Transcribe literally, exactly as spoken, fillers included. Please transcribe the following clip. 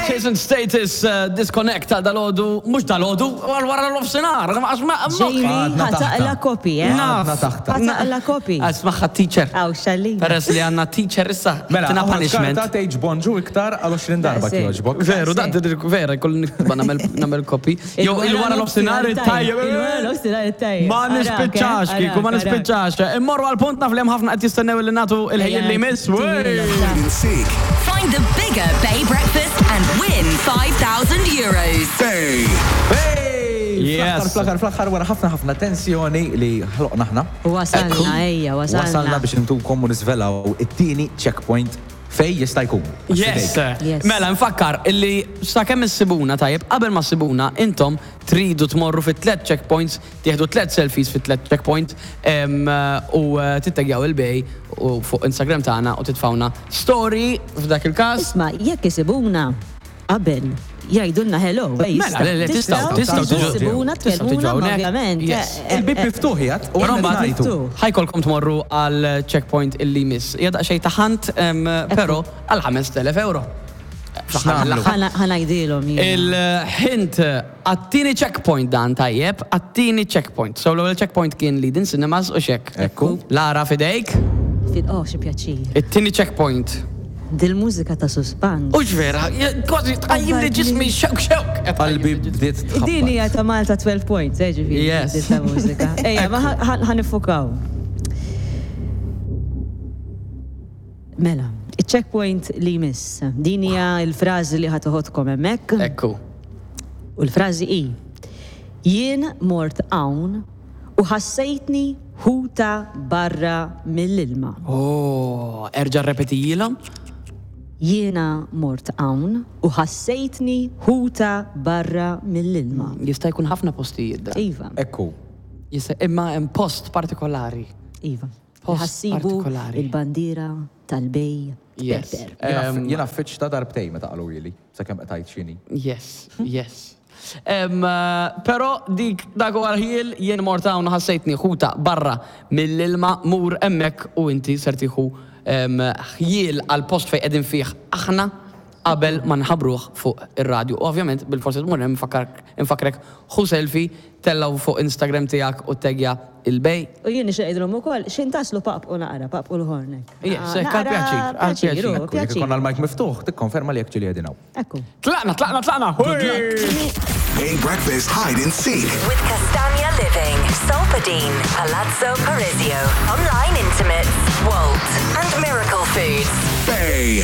Chase and Status uh, Disconnect ta' dalgħodu, mhux dalgħodu, għal wara nofsinhar. Jamie, Għadna ħa taqla' taħta. kopi, eh? Għadna taħta. Ħa taqla' kopi. Ismagħha teacher. Aw, xallina. Peress li għandna teacher issa, Mela, tina punishment. karta tgħidx bonġu iktar għal għoxrin darba Daqshekk. kjoġbok. Veru, da, vera, kull niktba nagħmel kopi. Jew il-wara nofsinhar it-tajjeb. Il-wara nofsinhar it-tajjeb. Ma nispiċċax, kieku, ma nispiċċax. Immorru għal-punt, naf li hemm ħafna qed jistennew li nagħtu il-ħin li jmiss. Hide and seek. Find the bigger Bay Breakfast and win five thousand euros. Bay. Yes. Fl-aħħar, fl-aħħar, wara ħafna ħafna tensjoni li ħloqna aħna. Wasalna, ejja, wasalna. Wasalna biex intukom u nisvelaw it-tieni checkpoint fej jista' jkun. Yes. Yes. Mela, nfakkar illi sakemm issibuna tajjeb, qabel ma ssibuna, intom tridu tmorru fit tlet checkpoints, tieħdu tlet selfies fit tlet checkpoint em, u eh, tittegjaw il-Bay u fuq Instagram tagħna u titfawna story f'dak il-każ. Isma', jekk isibuna qabel jgħidulna hello. Ej, Mela, le, le, tistgħu, tistgħu tiġu- Isibuna, tistgħu tiġu tkellmuna, hawnhekk. ovvjament. Yes. Eh, eh, Il-bib eh, miftuħ jgħat u Però għandna mbagħad ngħidu. ħa jkollkom tmorru għal checkpoint illi jmiss. Hija daqsxejn ta' hunt, em, però għal ħamest elef euro. Fl-aħħar mill-aħħar. ħana- ħa ngħidilhom jien. Il-hint għat-tieni checkpoint dan tajjeb, għat-tieni checkpoint. So l-ewwel checkpoint kien Leading Cinemas u xek. Ekku. Lara fidejk, Fid- Oh, xi pjaċir. It-tieni checkpoint. Dil-mużika ta' suspans. Ux vera, kważi tqajjim li ġismi xewk xewk. Qalbi bdiet Din hija tħabbat. ta' Malta twelve points, eh, ġifieri. Yes. Din ta' mużika. Ejja, ma ħa- ħa niffukaw. Mela, il-checkpoint li jmiss. Din hija l-frażi li ħa toħodkom hemmhekk. Ekku. U l-frażi hi: Jien mort hawn u ħassejtni ħuta barra mill-ilma. Oh, erġa' repetijilhom. Jiena mort hawn u ħassejtni ħuta barra mill-ilma. Jista' jkun ħafna postijiet da. Iva, Ekku. Jista' imma hemm post partikolari. Iva. Post Ħa ssibu partikolari. il-bandiera tal-Bay Yes. Pepper. Em, Jiena fitx ta' darbtej meta qalu ili, sakemm qtajt xini. Yes, yes. Em, eh, Pero dik dak huwa l-ħjiel, jien mort hawn ħassejtni ħuta barra mill-ilma, mur hemmhekk u inti ser tieħu em, ħjiel għal post fejn qegħdin fih aħna qabel ma nħabruh fuq ir-radju. U ovvjament bil-forsi tmur hemm infakrek ħu selfie, tellgħu fuq Instagram tiegħek u tegja il-Bay. U jien nixtieq ngħidilhom ukoll x'in taslu paqpqu naqra, paqpqu l-ħornek. Yes, hekk, għal pjaċir, għal pjaċir. Ekku, jekk ikollna l-mic miftuħ, tikkonferma li jekk ġili qegħdin hawn. Ekku. Tlaqna, tlaqna, tlaqna! Bay Breakfast Hide and Seek. With Castagna Living, Solpadeine, Palazzo Parisio, Online Intimates, Wolt, and Miracle Foods. Bay.